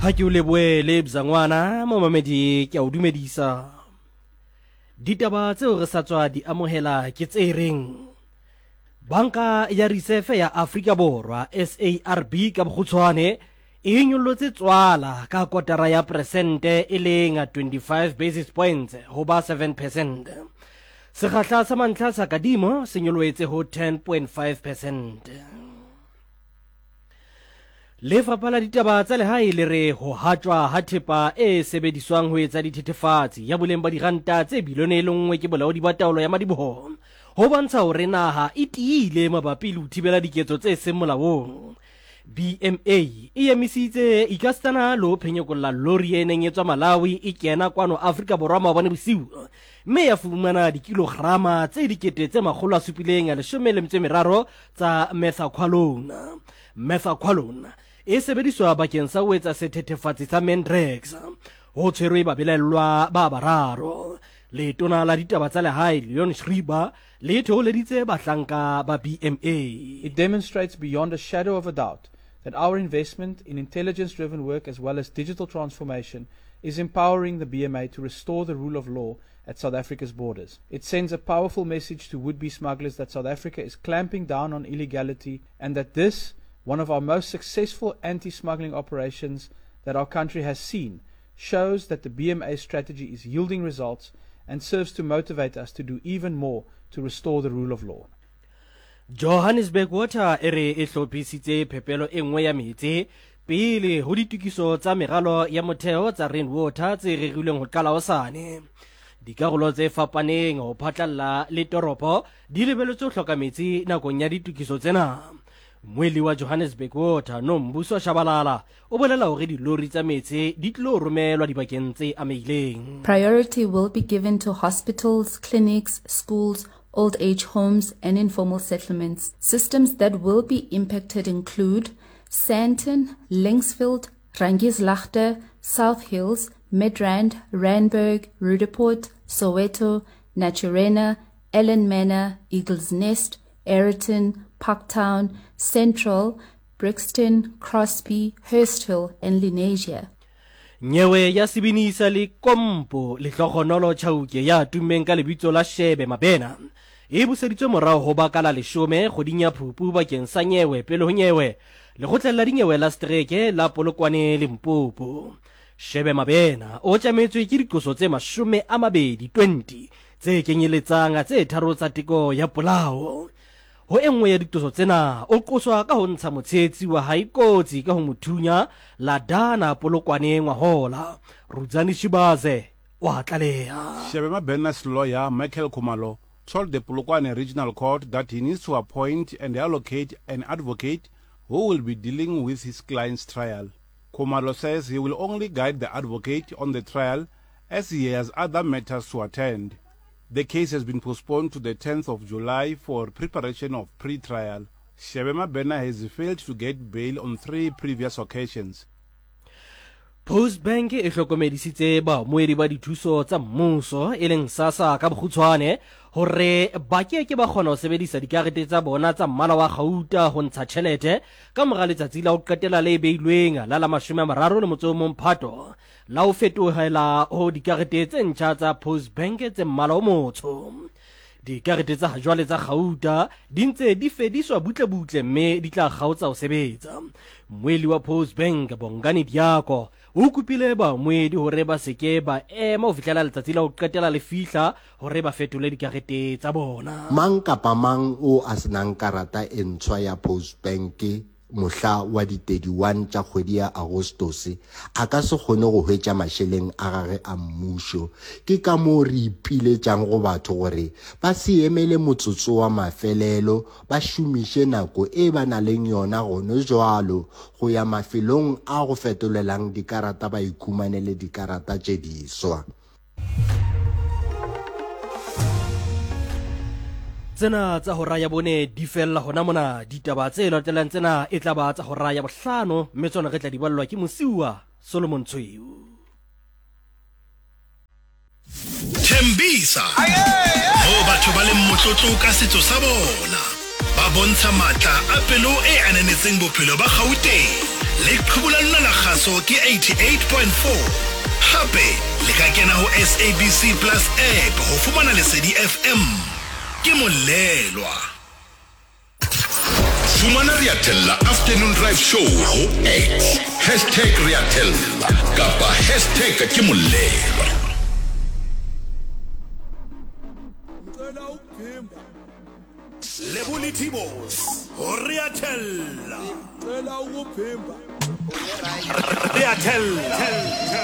Ha ke o lebohe le bzangwana momamedi ke a o dumedisa. Ditaba tseo re sa tswa di amohela ke tse reng Banka ya Risefe ya Afrika Borwa SARB ka bokgutshwane e nyollotse tswala ka kotara ya peresente e leng 25 basis points ho ba 7 percent. Sekgahla sa mantlha sa kadimo se nyolohetse ho 10.5 percent. Lefapha la ditaba tsa lehae le re ho hatjwa ha thepa e sebediswang ho etsa dithethefatsi ya boleng ba diranta tse bilione e le nngwe ke bolaodi ba taolo ya madiboho ho bontsha hore naha e tiile mabapi le ho thibela diketso tse seng molaong. BMA e emisitse ikasitana le ho phenyekolla lori e neng e tswa Malawi e kena kwano Afrika Borwa maobane bosiu mme ya fumana dikilograma tse 713 tsa methaqualone. Methaqualone e sebediswa bakeng sa ho etsa sethethefatsi sa Mandrax. Ho tshwerwe babelaellwa ba bararo. Letona la ditaba tsa lehae Leon Schreiber le theoleditse bahlanka ba BMA. It demonstrates beyond a shadow of a doubt that our investment in intelligence-driven work as well as digital transformation is empowering the BMA to restore the rule of law at South Africa's borders. It sends a powerful message to would-be smugglers that South Africa is clamping down on illegality and that this, one of our most successful anti-smuggling operations that our country has seen, shows that the BMA strategy is yielding results and serves to motivate us to do even more to restore the rule of law. Johannesburg Water e re e hlophisitse phepelo e nngwe ya meetse pele ho ditokiso tsa meralo ya motheo tsa Rainwater tse rerilweng ho qala hosane. Dikarolo tse fapaneng ho phatlalla le toropo di lebeletswe ho hloka metsi nakong ya ditokiso tsena. Mmuelli wa Johannesburg Water, Nombuso Shabalala, o bolela hore dilori tsa metsi di tlilo romelwa dibakeng tse amehileng. Priority will be given to hospitals, clinics, schools, old age homes and informal settlements. Systems that will be impacted include Sandton, Linksfield, Rangieslaagte, South Hills, Midrand, Randburg, Roodepoort, Soweto, Naturena, Ellen Manor, Eagles Nest, Aeroton, Parktown, Central, Brixton, Crosby, Hursthill and Lenasia. Nyewe ya sebini sa Lekompo Lehlogonolo Chauke ya tummeng ka lebitso la Shebe Mabena e buseditswe morao ho ba ka la leshome kgweding ya Phupu bakeng sa nyewe pele ho nyewe lekgotleng la dinyewe la setereke la Polokwane Limpopo. Shebe Mabena o tjametswe ke diqoso tse 20 20 tse kenyeletsang tse tharo tsa teko ya polao. Ho e nngwe ya diqoso tsena, o qoswa ka ho ntsha motshehetsi wa hae kotsi ka ho mo thunya Ladana Polokwane ngwahola. Rudzani Shibaze wa tlaleha. Shebe Mabena's lawyer, Michael Khumalo, told the Polokwane Regional Court that he needs to appoint and allocate an advocate who will be dealing with his client's trial. Khumalo says he will only guide the advocate on the trial as he has other matters to attend. The case has been postponed to the 10th of July for preparation of pre-trial. Shebe Mabena has failed to get bail on three previous occasions. Postbank e hlokomedisitse baamohedi ba dithuso tsa mmuso e leng SASSA ka bokgutshwane hore ba ke ke ba kgona ho sebedisa dikarete tsa bona tsa mmala wa kgauta ho ntsha tjhelete ka mora letsatsi la ho qetela le beilweng la la 31 Phato la ho fetohela ho dikarete tse ntjha tsa Postbank tse mmala o motsho. Dikarete tsa hajwale tsa kgauta di ntse di fediswa butlebutle mme di tla kgaotsa ho sebetsa. Mmuelli wa Postbank, Bongani Diako, o kopile baamohedi hore ba se ke ba ema ho fihlela letsatsi la ho qetela le fihla hore ba fetole dikarete tsa bona. Mang kapa mang o a se nang karata e ntshwa ya Postbank mohla wa di 31 tša kgwedi ya Agostose a ka se kgone go hwetša mašeleng a gage a mmušo. Ke ka moo re ipiletšang go batho gore ba se emele motsotso wa mafelelo, ba šomiše nako e ba na leng yona gone jwalo go ya mafelong a go fetolelang dikarata ba ikhumanele dikarata tše diswa. Tsena tsa hora ya bone di fella hona mona. Ditaba tse latelang tsena e tla ba tsa hora ya bohlano, mme tsona re tla di ballwa ke Mosiuwa Solomon Tshweu. Thembisa, moo batho ba leng motlotlo ka setso sa bona, ba bontsha matla a pelo e ananetseng bophelo ba Gauteng. Leqhubu la lona la kgaso. kgaso ke 88.4. Hape le ka kena ho SABC Plus app ho fumana Lesedi FM. Ke Molelwa. Fumana Re a Thella Afternoon Drive Show ho X, hashtag Re a Thella kapa hashtag ke Molelwa. Lebo le Tibos ho Re a Thella. Re a Thella.